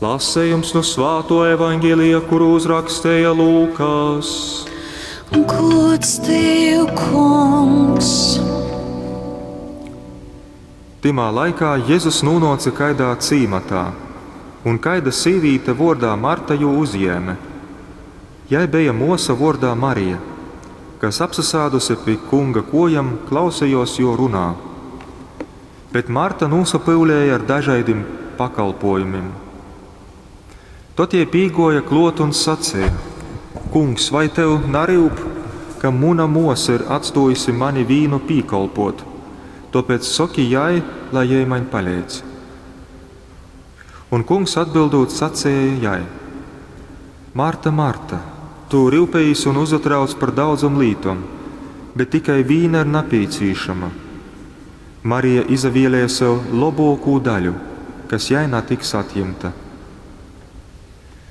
Lasejums nu Svātuo Evangelija, kuru uzraksteja Lūkas. Gods tev, Kungs! Tymā laikā Jezus nūnōce kaidā cīmatā, un kaida sīvīte vōrdā Marta jū uzjēme. Jai beja mōsa vōrdā Marija, kas apsasāduse pi Kunga kōjom klausejōs Jō runā. Bet Marta nūsapyulēja ar dažaidim pakolpōjumim. Tod jei pīgōja klōt un saceja, Kungs, vai tev naryup, ka muna mōsa ir atstōjuse mani vīnu pīkolpōt? Tōpēc soki jai, lai jei maņ paleidz. Un Kungs atbyldūt saceja jai, Marta, Marta, tu ryupejīs un uzatrauc par daudzom lītom, bet tikai vīna ir napīcīšama. Marija izavielēja sev lobōkū daļu, kas jai natiks atjimta.